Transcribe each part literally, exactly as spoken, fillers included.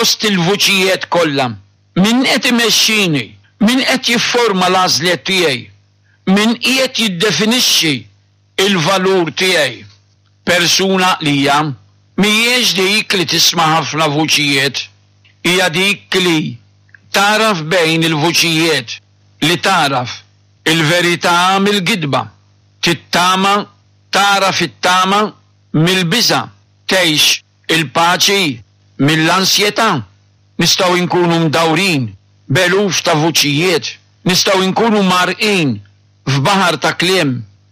Fost il-vuċijiet kollha, min qed imexxini? Min qed jifforma l-għażliet tiegħi? Min qiegħed jiddefinixxi l-valur tiegħi? Persuna għaqlija mhijiex dik li tisma' ħafna vuċijiet, hija dik li tagħraf bejn il-vuċijiet, li tagħraf il-verità mill-gidba, tittama, tagħraf it-tama mill-biża', tgħix il-paċi mill-ansjetà. Nistgħu nkunu mdawrin b'eluf ta' vuċijiet, nistgħu nkunu mgħarrqin f'baħar ta' kliem,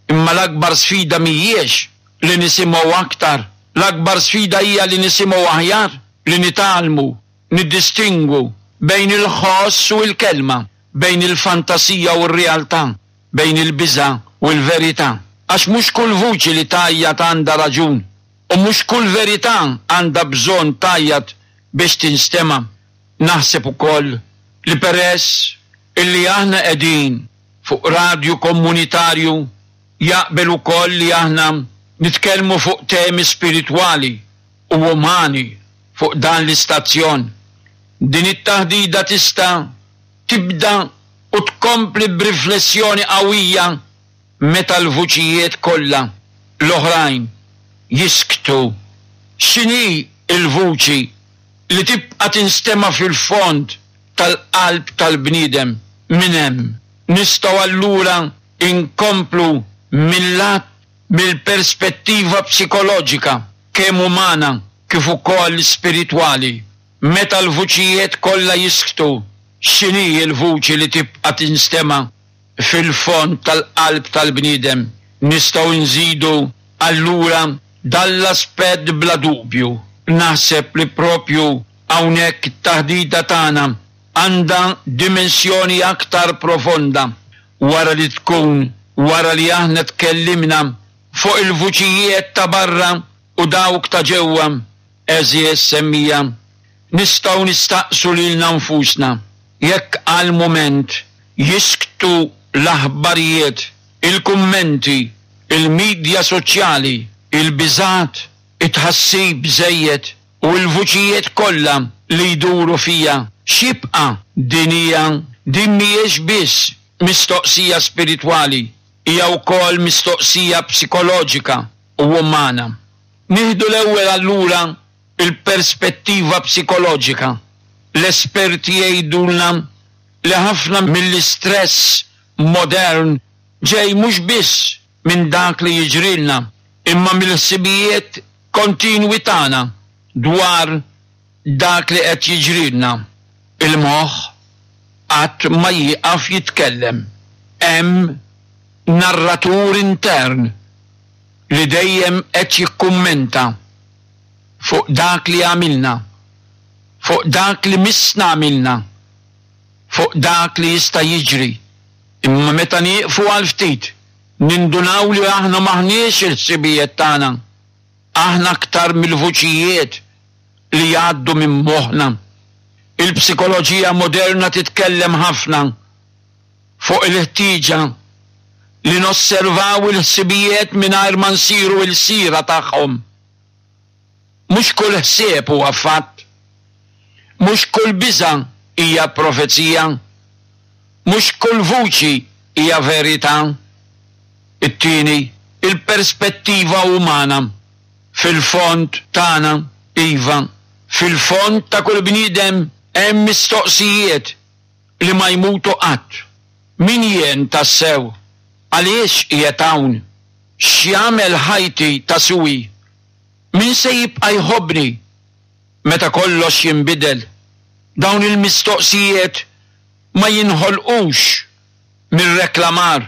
imma l-akbar sfida mhijiex li nisimgħu aktar, l-akbar sfida hija li nisimgħu aħjar, li nitgħallmu niddistingwu bejn il-ħoss u l-kelma, bejn il-fantasija u r-realtà, bejn il-biża' u l-verità. Għax mhux kull vuċi li tgħajjat għandha raġun, u mhux kull verità għandha bżonn tgħajjat biex tinstema'. Naħseb ukoll li peress illi aħna qegħdin fuq radju komunitarju jaqbel ukoll li aħna nitkellmu fuq temi spiritwali u umani fuq dan l-istazzjon. Din it-taħdida tista' tibda u tkompli b'riflessjoni qawwija meta l-vuċijiet kollha l-oħrajn jisktu. X'inhi l-vuċi li tibqa' tinstema' fil-fond tal-qalb tal-bniedem? Minn hemm nistgħu allura nkomplu mil-lat mill-perspettiva psikoloġika, kemm umana kif ukoll spiritwali. Meta l-vuċijiet kollha jisktu, x'inhi l-vuċi li tibqa' tinstema' fil-fond tal-qalb tal-bniedem? Nistgħu nżidu allura dan l-aspett bla dubju. Naħseb li proprju hawnhekk it-taħdita tagħna għandha dimensjoni aktar profonda wara li tkun wara li aħna tkellimna fuq il-vuċijiet ta' barra u dawk ta' ġewwa, għeżież semmija, nistgħu nistaqsu lilna nfusna jekk għal mument jisktu l-aħbarijiet, il-kummenti, il-midja soċjali, il-biżgħat, it-tħassib żejjed u l-vuċijiet kollha li jduru fija, x'jibqa'? Din hija, din mhijiex biss mistoqsija spiritwali, hija wkoll mistoqsija psikoloġika u umana. Nieħdu l-ewwel allura l-perspettiva psikoloġika. L-esperti jgħidulna li ħafna mill-istress modern ġej mhux biss minn dak li jiġrilna, imma mill-ħsibijiet kontinwi tagħna dwar dak li qed jiġrilna. Il-moħħ qatt ma jieqaf jitkellem. Hemm narratur intern li dejjem qed jikkummenta fuq dak li għamilna, fuq dak li missna għamilna, fuq dak li jista' jiġri. Imma meta nieqfu għal ftit, nindunaw li aħna m'aħniex il-ħsibijiet tagħna. Aħna aktar mill-vuċijiet li jgħaddu minn moħħna. Il-psikoloġija moderna titkellem ħafna fuq il-ħtieġa li nosservaw il-ħsibijiet mingħajr ma nsiru ilsira tagħhom. Mhux kull ħsieb huwa fatt. Mhux kull biża' hija profezija. Mhux kull vuċi hija verità. It-tieni, il-perspettiva umana. Fil-fond tagħna, iva, fil-fond ta' kull bniedem hemm mistoqsijiet li ma jmutu qatt. Min jien tassew? Għaliex qiegħed hawn? X'jagħmel ħajti ta' siwi? Min se jibqa' jħobbni meta kollox jinbidel? Dawn il-mistoqsijiet ma jinħolqux mir-reklamar,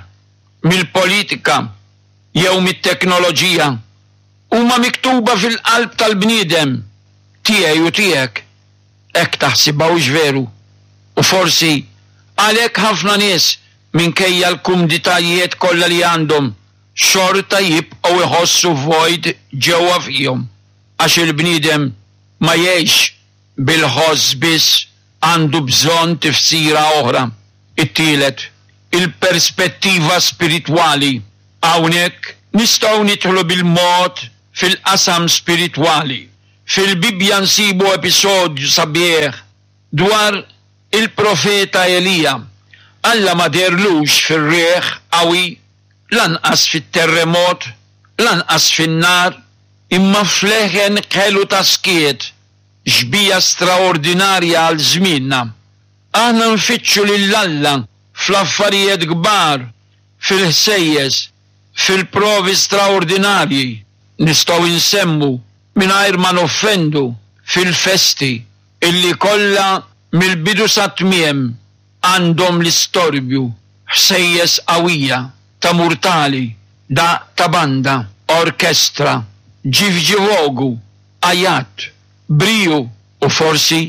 mill-politika jew mit-teknoloġija. Huma miktuba fil-qalb tal-bniedem, tiegħi u tiegħek. Hekk taħsibha hux veru? U forsi għalhekk ħafna nies, minkejja l-kumditajiet kollha li għandhom, xorta jibqgħu jħossu vojt ġewwa fihom. Għax il-bniedem ma jgħixx bil-ħoss biss, għandu bżonn tifsira oħra. It-tielet, il-perspettiva spiritwali. Hawnhekk nistgħu nidħlu bil-mod fil-qasam spiritwali, Fil-Bibbja nsibu episodju sabiħ dwar il-profeta Elija. Alla ma dehrlux fir-riħ qawwi, lanqas fit-terremot, lanqas fin-nar, imma f'leħen ħelu ta' skiet, xbieha straordinarja għal żmienna. Aħna nfittxu lil Alla fl-affarijiet kbar, fil-ħsejjes, fil-provi straordinarji, nistgħu nsemmu mingħajr ma noffendu fil-festi illi kollha mill-bidu sat-tmiem għandhom l-istorbju, ħsejjes qawwija ta' murtali, daqq ta' banda, orkestra, ġivġivogu, għajat, briju u forsi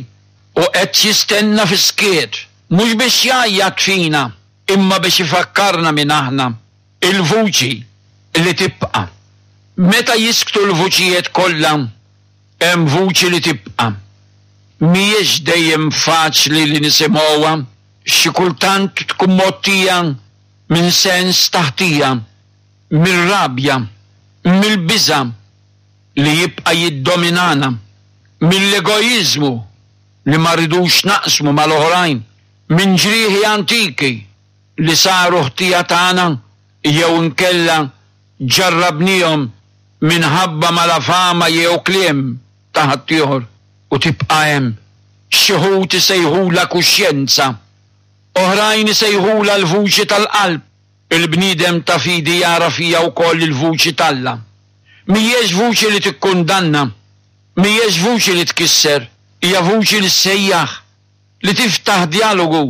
u qed jistenna fis-skiet, mhux biex jgħajjat fina, imma biex ifakkarna min aħna, il-vuċi li tibqa'. Meta jisktu l-vuċijiet kollha, hemm vuċi li tibqa'. Mhijiex dejjem faċli li nisimgħuha, xi kultant tkun mgħottija minn sens ta' ħtija, mir-rabja, mill-biża' li jibqa' jiddominana, mill-egoiżmu li ma rridux naqsmu mal-oħrajn, minn ġrieħi antiki li saru ħtija tagħna jew inkella ġarrabnihom minħabba malafama jew kliem ta' ħaddieħor u tibqa' hemm. Xi wħud isejħulha kuxjenza, oħrajn isejħulha l-vuċi tal-qalb. Il-bniedem ta' fidi jara fija wkoll il-vuċi t'Alla. Mhijiex vuċi li tikkundanna, mhijiex vuċi li tkisser, hija vuċi li ssejjaħ, li tiftaħ djalogu,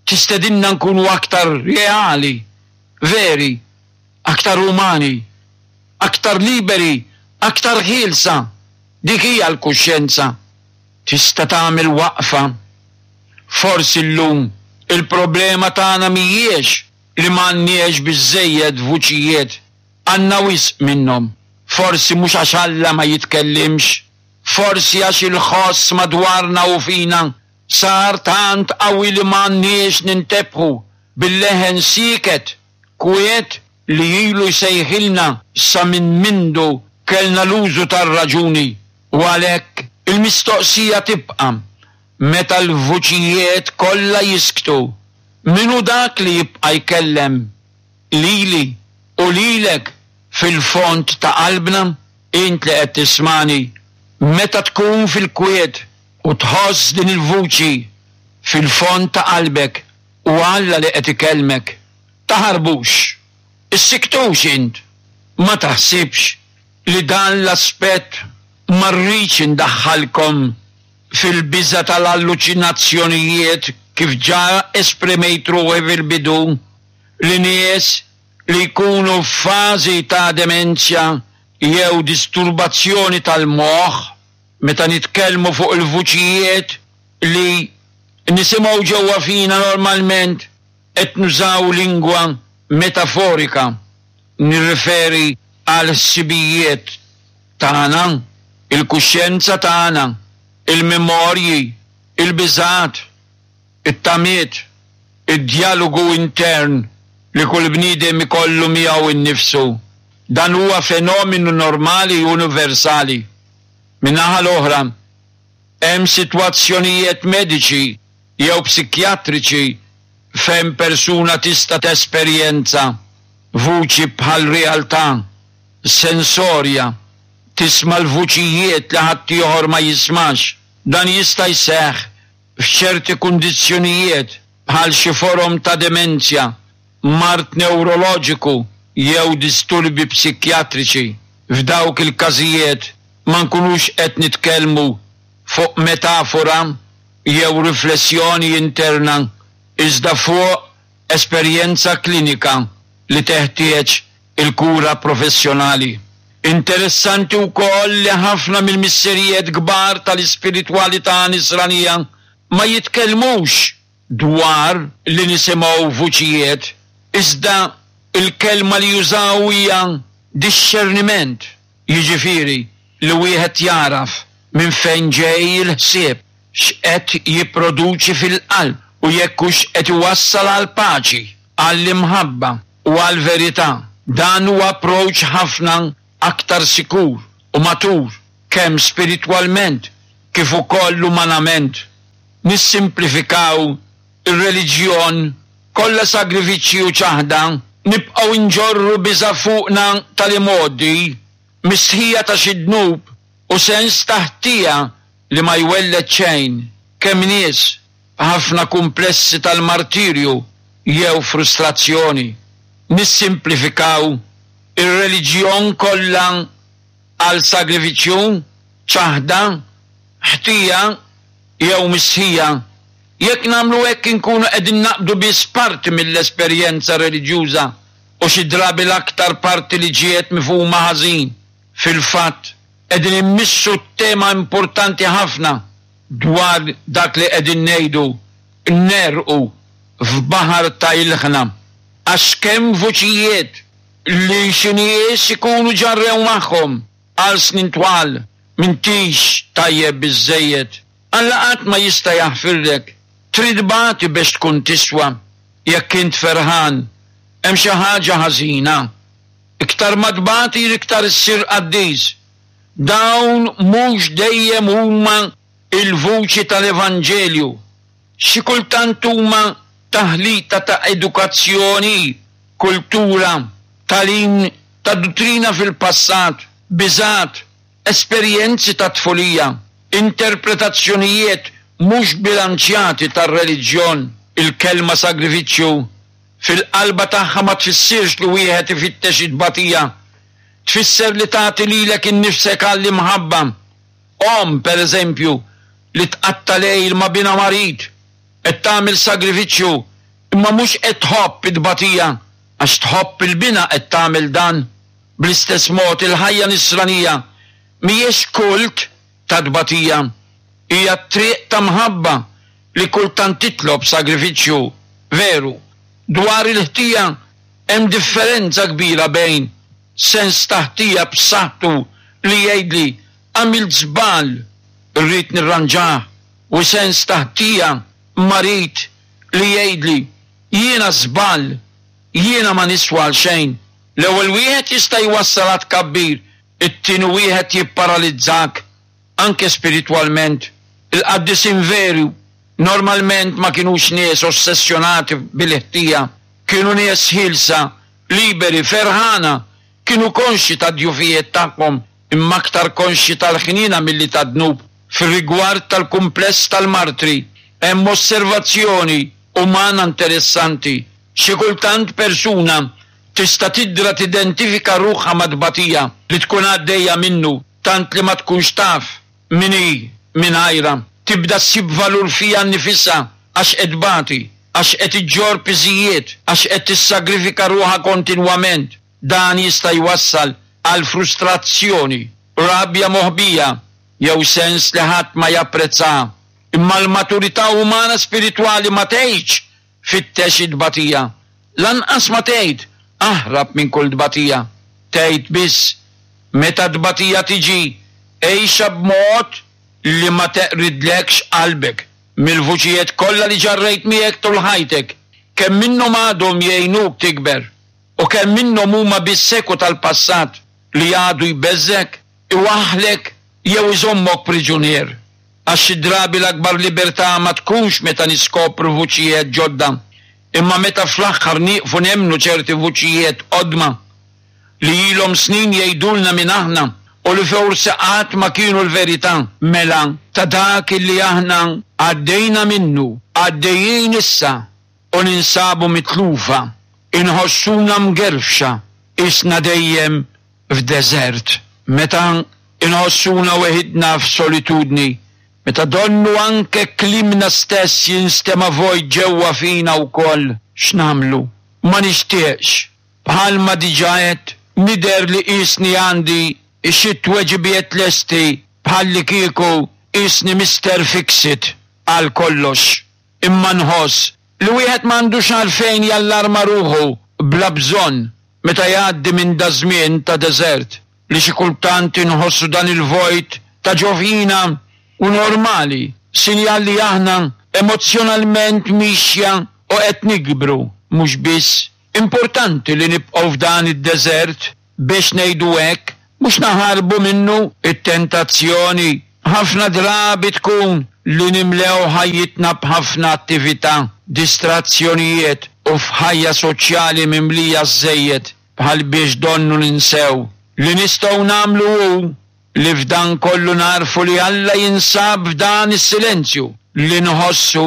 tistedinna nkunu aktar reali, veri, aktar umani, aktar liberi, aktar ħielsa. Dik hija l-kuxjenza. Tista' tagħmel waqfa. Forsi llum il-problema tagħna mhijiex li m'għandniex biżżejjed vuċijiet, għandna wisq minnhom. Forsi mhux għax Alla ma jitkellimx, forsi għax il-ħoss madwarna u fina sar tant qawwi li m'għandniex nintebħu bil-leħen sieket, kwiet li ilu jsejħilna sa minn mindu kellna l-użu tar-raġuni. U għalhekk il-mistoqsija tibqa' meta l-vuċijiet kollha jisktu, min hu dak li jibqa' jkellem lili u lilek fil-fond ta' qalbna? Int li qed tismani, meta tkun fil-kwiet u tħoss din il-vuċi fil-fond ta' qalbek u Alla li qed ikellmek, taħarbux, issiktux int, ma taħsibx li dan l-aspett ma rridx indaħħalkom fil-biża' tal-alluċinazzjonijiet kif ġa esprimejt ruħi fil-bidu, li nies li jkunu f'fażi ta' demenzja jew disturbazzjoni tal-moħħ, meta nitkellmu fuq il-vuċijiet li nisimgħu ġewwa fina normalment qed nużaw lingwa metaforika, nirriferi għal ħsibijiet tagħna, il-kuxjenza tagħna, il-memorji, il-biżgħat, it-tamiet, id-djalogu intern li kull bniedem ikollu miegħu nnifsu. Dan huwa fenomenu normali u universali. Min-naħa l-oħra, hemm sitwazzjonijiet mediċi jew psikjatriċi fejn persuna tista' tesperjenza vuċi bħal realtà sensorja, tisma' l-vuċijiet li ħaddieħor ma jismax. Dan jista' jseħħ f'ċerti kundizzjonijiet bħal xi forom ta' demenzja, mard newroloġiku jew disturbi psikjatriċi. F'dawk il-każijiet ma nkunux qed nitkellmu fuq metafora jew riflessjoni interna, iżda fuq esperjenza klinika li teħtieġ il-kura professjonali. Interessanti wkoll li ħafna mill-missirijiet kbar tal-ispiritwalità nisranija ma jitkellmux dwar li nisimgħu vuċijiet, iżda il-kelma li jużaw hija dixxerniment, jiġifieri li wieħed jaraf minn fejn ġej il-ħsieb, x'qed jipproduċi fil-qalb u jekk hux qed iwassal għall-paċi, għall-imħabba u għall-verità. Dan huwa approach ħafna aktar sikur u matur kemm spiritwalment kif ukoll umanament. Nissimplifikaw ir-reliġjon kollha sagrifiċċji u ċaħda, nibqgħu nġorru biża' fuqna tal-imgħoddi, mistħija ta' xi dnub u sens ta' ħtija li ma jwelled xejn. Kemm nies b'ħafna kumplessi tal-martirju jew frustrazzjoni. Nissimplifikaw ir-reliġjon kollha għal sagrifiċċju, ċaħda, ħtija jew mistħija. Jekk nagħmlu hekk inkunu qegħdin naqbdu biss parti mill-esperjenza reliġjuża u xi drabi l-aktar parti li ġiet mifhuma ħażin. Fil-fatt, qegħdin immissu tema importanti ħafna dwar dak li qegħdin ngħidu, negħrqu f'baħar ta' ilħna. Għax kemm vuċijiet li xi nies ikunu ġarrew magħhom għal snin twal, m'intix tajjeb biżżejjed. Alla qatt ma jista' jaħfirlek. Trid tbati biex tkun tiswa. Jekk int ferħan, hemm xi ħaġa ħażina. Iktar ma tbati iktar issir qaddis. Dawn mhux dejjem huma il-vuċi tal-Evanġelju. Xi kultant huma taħlita ta' edukazzjoni, kultura, tagħlim ta' duttrina fil-passat, biżat, esperjenzi ta' tfulija, interpretazzjonijiet mhux bilanċjati tar-reliġjon. Il-kelma sagrifiċċju fil-qalba tagħha ma tfissirx li wieħed ifittex it-tbatija, tfisser li tagħti lilek innifsek għall-imħabba. Omm, per eżempju, li tqatta' lejl ma' binha marid, qed tagħmel sagrifiċċju, imma mhux qed tħobb it-tbatija, għax tħobb il-binha qed tagħmel dan. Bl-istess mod il-ħajja nisranija mhijiex kult ta' tbatija, hija triq ta' mħabba li kultant titlob sagrifiċċju veru. Dwar il-ħtija hemm differenza kbira bejn sens ta' ħtija b'saħħtu li jgħidli għamilt żball, rrid nirranġah, u sens ta' ħtija marid li jgħidli jiena żball, jiena ma niswa għal xejn. L-ewwel wieħed jista' jwassal għad kabbir, it-tieni wieħed jipparalizzak anke spiritwalment. Il-qaddisin veru normalment ma kinux nies ossessjonati bil-ħtija, kienu nies ħielsa, liberi, ferħana, kienu konxi ta' djufijiet tagħhom, imma aktar konxi tal-ħniena milli ta' dnub. Fir-rigward tal-kumpless tal-martri hemm osservazzjoni umana interessanti. Xi kultant persuna tista' tidra tidentifika ruħha mat-tbatija li tkun għaddejja minnu, tant li ma tkunx taf min hi mingħajrha. Tibda ssib valur fiha nnifisha għax qed tbati, għax qed iġġorr piżijiet, għax qed tissagrifika ruħha kontinwament. Dan jista' jwassal għal frustrazzjoni, rabja moħbija jew sens li ħadd ma japprezzaha. Imma l-maturità umana spiritwali ma tgħidx fittex it-tbatija. Lanqas ma tgħid aħrab minn kull tbatija. Tgħid biss meta tbatija tiġi, għixha b'mod li ma teqridlekx qalbek. Mill-vuċijiet kollha li ġarrejt miegħek tul ħajtek, kemm minnhom għadhom jgħinuk tikber u kemm minnhom huma biss eku tal-passat li għadu jbeżżek, iwaħħlek jew iżommok priġunier. Għax xi drabi l-akbar libertà ma tkunx meta niskopru vuċijiet ġodda, imma meta fl-aħħar nieqfu nemmnu ċerti vuċijiet qodma li ilhom snin jgħidulna minn aħna u li forsi qatt ma kienu l-verità. Mela ta' dak li aħna għaddejna minnu, għaddejjin issa u ninsabu mitlufa, inħossuna mgerfxa, isna dejjem f'deżert. Meta inħossuna weħidna f'solitudni, meta donnu anke klimna stess jinstema' vojt ġewwa fina wkoll, x'nagħmlu? Ma nixtieqx, bħalma diġà għedt, nidher li qisni għandi xi tweġibiet lesti bħalli kieku qisni Mister Fix-It għal kollox. Imma nħoss li wieħed m'għandux għalfejn jallarma ruħu bla bżonn meta jgħaddi minn da żmien ta' deżert li xi kultant inħossu dan il-vojt ta' ġo fina u normali, sinjal li aħna emozjonalment mixja u qed nikbru. Mhux biss importanti li nibqgħu f'dan id-deżert biex ngħidu hekk, mhux naħarbu minnu. It-tentazzjoni ħafna drabi tkun li nimlew ħajjitna b'ħafna attività, distrazzjonijiet u f'ħajja soċjali mimlija żejjed bħal biex donnu ninsew. Li nistgħu nagħmlu hu li f'dan kollu narfu li Alla jinsab f'dan is-silenzju li nħossu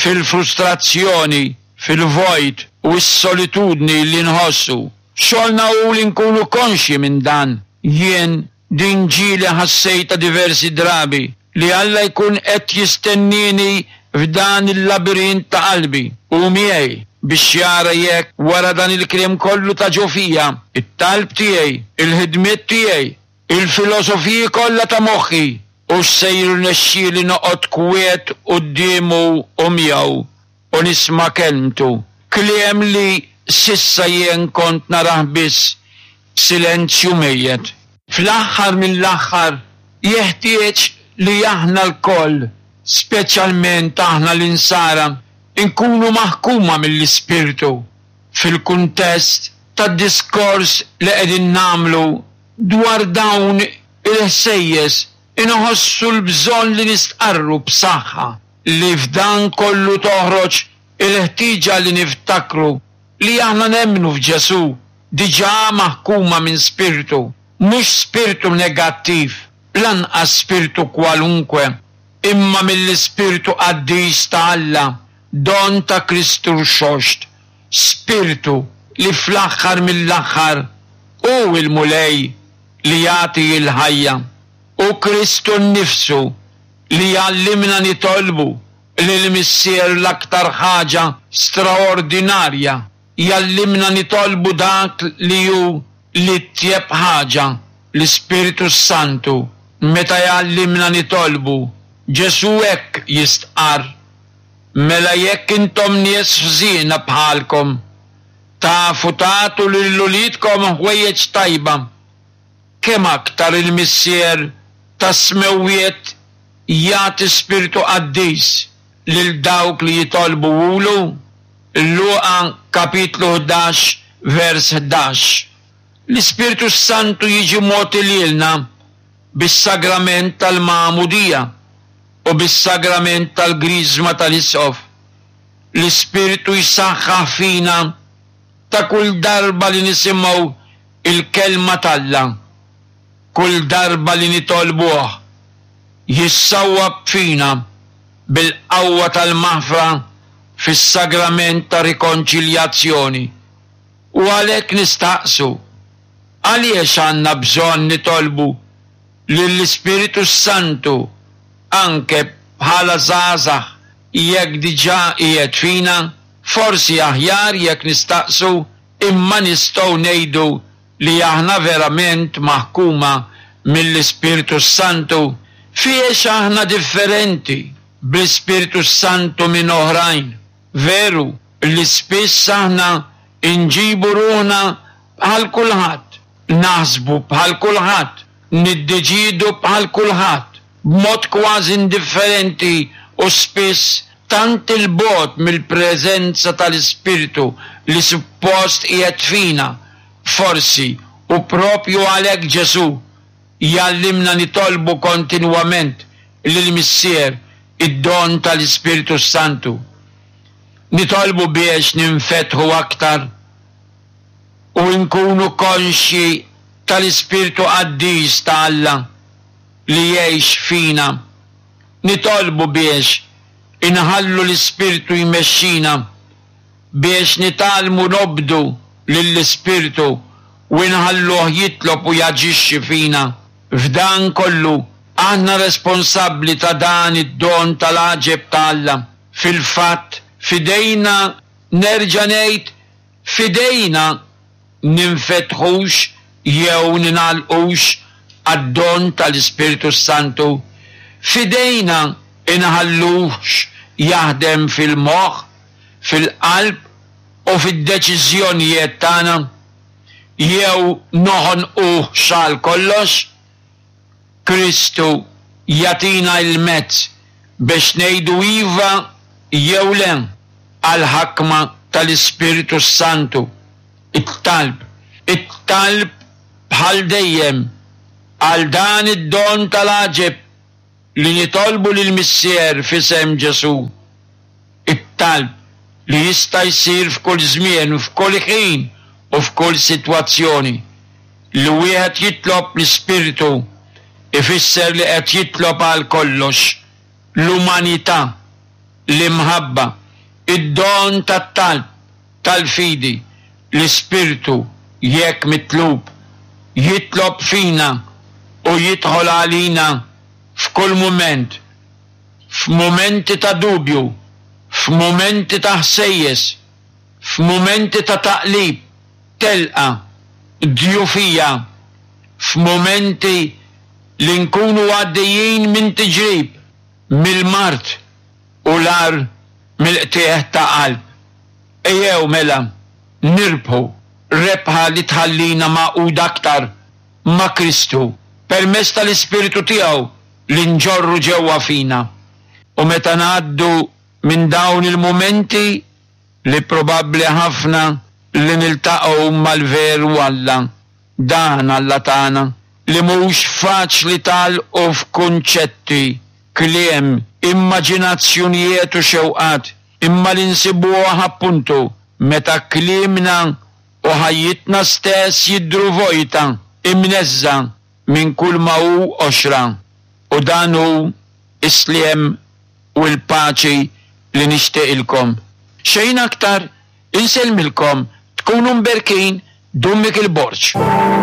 fil-frustrazzjoni, fil-vojt u s-solitudni li nħossu. Xogħolna hu li nkunu konxji minn dan. Jien din ġieli ħassejta diversi drabi li Alla jkun qed jistennini f'dan il-labirint ta' qalbi u miegħi biex jara jekk wara dan il-kliem kollu ta' ġo fija, it-talb tiegħi, il-ħidmiet tiegħi, il-filosofiji kollha ta' moħħi, u se jirnexxieli noqgħod kwiet quddiemu u miegħu u nisma' kelmtu. Kliem li s'issa jien kont narah biss silenzju mejjet. Fl-aħħar mill-aħħar jeħtieġ li aħna lkoll, speċjalment aħna l-insara, inkunu maħkuma mill-Ispirtu fil-kuntest tad-diskors li qegħdin nagħmlu dwar dawn il-ħsejjes. Inħossu l-bżonn li nistqarru b'saħħa li f'dan kollu toħroġ il-ħtieġa li niftakru li aħna nemmnu f'Ġesù diġà maħkuma minn spirtu, mhux spirtu negattiv, lanqas spirtu kwalunkwe, imma mill-Ispirtu Qaddis ta' Alla, don ta' Kristu Rxoxt, spirtu li fl-aħħar mill-aħħar hu l-Mulej li jagħti l-ħajja. U Kristu nnifsu li jgħallimna nitolbu lill-Missier l-aktar ħaġa straordinarja, jgħallimna nitolbu dak li hu l-itjeb ħaġa, l-Ispirtu Santu. Meta jgħallimna nitolbu, Ġesù hekk jistqarr: mela jekk intom nies ħżiena bħalkom, tafu tagħtu lil uliedkom ħwejjeġ tajba, kemm aktar il-Missier tas-smewwiet jagħti Spirtu Qaddis lil dawk li jitolbu ulu. Luqa kapitlu ħdax vers ħdax. L-Ispirtu Santu jiġi mogħti lilna bis-sagrament tal-Magħmudija u bis-sagrament tal-Griżma tal-Isqof. L-Ispirtu jsaħħaħ fina ta' kull darba li nisimgħu il-kelma t'Alla, kull darba li nitolbuh, jissawwab fina bil-qawwa tal-maħfra fis-sagrament ta' rikonċiljazzjoni. U għalhekk nistaqsu, għaliex għandna bżonn nitolbu lill-Ispirtu Santu anke bħala żgħażagħ jekk diġà qiegħed fina? Forsi aħjar jekk nistaqsu, imma nistgħu ngħidu li aħna verament maħkuma mill-Ispirtu Santu. Fiex aħna differenti bl-Ispirtu Santu minn oħrajn? Veru li spiss aħna nġibu ruħna bħal kulħadd, naħsbu bħal kulħadd, niddeċidu bħal kulħadd, b'mod kważi indifferenti u spiss tant il-bogħod mill-preżenza tal-Ispirtu li suppost qiegħed fina. Forsi u propju għalhekk Ġesù jgħallimna nitolbu kontinwament lill-Missier id-don tal-Ispirtu Santu. Nitolbu biex ninfetħu aktar u nkunu konxji tal-Ispirtu Qaddis ta' Alla li jgħix fina. Nitolbu biex inħallu l-Ispirtu jmexxina, biex nitgħallmu nobdu lill-Ispirtu u nħalluh jitlob u jaġixxi fina. F'dan kollu aħna responsabbli ta' dan id-don tal-għaġeb ta' Alla. Fil-fatt, fidejna, nerġa' ngħid, fidejna ninfetħux jew ninalqux għad-don tal-Ispirtu Santu. Fidejna inħallux jaħdem fil-moħħ, fil-qalb u fid-deċiżjonijiet tagħna, jew noħonquh xal kollox. Kristu jagħtina l-mezz biex ngħidu iva jew le għall-ħakma tal-Ispirtu Santu. It-talb, it-talb bħal dejjem għal dan id-don tal-għaġeb li nitolbu lill-Missier f'isem Ġesù. It-talb li jista' jsir f'kull żmien, f'kull ħin u f'kull sitwazzjoni. Li wieħed jitlob l-Ispirtu ifisser li qed jitlob għal kollox, l-umanità, l-imħabba, id-don tat-talb, tal-fidi, l-Ispirtu jekk mitlub, jitlob fina u jidħol għalina f'kull mument, f'mumenti ta' dubju, f'mumenti ta' ħsejjes, f'mumenti ta' taqlib, telqa, djufija, f'mumenti li nkunu għaddejjin minn tiġrib, mill-mard u l-agħar mill-qtigħ ta' qalb. Ejjew mela nirbħu rebħa li tħallina magħquda aktar ma' Kristu permezz tal-Ispirtu tiegħu li nġorru ġewwa fina. U meta ngħaddu minn dawn il-mumenti li probabbli ħafna li niltaqgħu mal-veru Alla, dan Alla tagħna, li mhux faċli tagħlqu f'kunċetti, kliem, immaġinazzjonijiet u xewqat, imma li nsibuh appuntu meta kliemna u ħajjitna stess jidhru vojta, imneżża' minn kull ma hu qoxra. U dan hu s-sliem u l-paċi li nixtieqilkom. Xejn aktar, insellmilkom, tkunu mberkin, Dun Mikiel Borg.